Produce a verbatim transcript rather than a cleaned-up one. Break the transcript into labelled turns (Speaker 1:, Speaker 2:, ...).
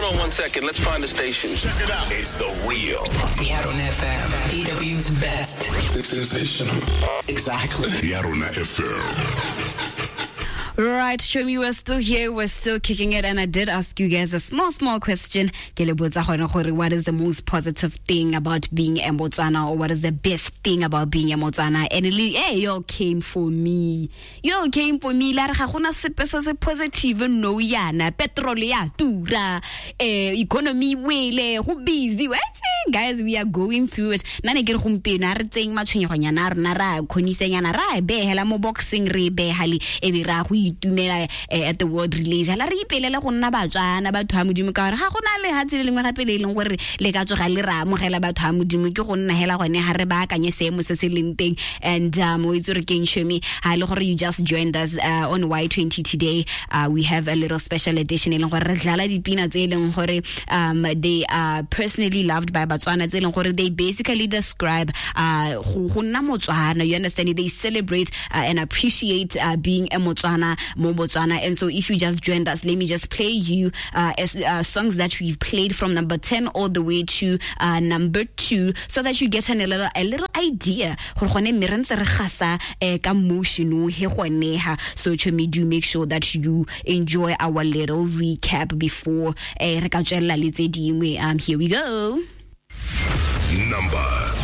Speaker 1: on one second. Let's find the station.
Speaker 2: Check it out.
Speaker 3: It's the real
Speaker 4: Yarona F M, E W's best.
Speaker 2: It's sensational.
Speaker 5: Exactly.
Speaker 2: Yarona F M.
Speaker 6: Right, Shomi, we're still here, we're still kicking it, and I did ask you guys a small, small question. Ke le botsa gone gore what is the most positive thing about being a Motswana, or what is the best thing about being a Motswana? And it, hey, you all came for me. You all came for me. La re ga gona sepe se se positive no yana. Petrol ya tura, eh, economy wele, go busy. What? Guys, we are going through it. Nna ne ke re gompieno a re tseng matshwenyegonyana a rona ra kgonisanyana ra e behela mo boxing re e behale e be ra go itumela at the world relays hela re ipelele go nna Batswana batho ba Modimo ka gore ga go na le ha tsele lengwe gape le e leng gore le ka tsoga le ra amogela batho ba Modimo ke go nna hela gone ha re baakanye seemo se se leng teng. And um o itse re keng Shomi ha le gore you just joined us uh, on Y twenty today. Uh, we have a little special edition e leng gore re dlala dipina tse e leng gore um they are personally loved by Batswana tse e leng gore they basically describe uh go nna Motswana, you understand? They celebrate uh, and appreciate uh, being a Motswana mo Botswana. And so if you just joined us, let me just play you uh, as, uh, songs that we've played from number ten all the way to uh, number two, so that you get an, a little a little idea gore gone mme re ntse re gasa ka motion o he gone ha. So chomi, do make sure that you enjoy our little recap before eh re ka tswelela le tse dingwe. Um here we go.
Speaker 3: Number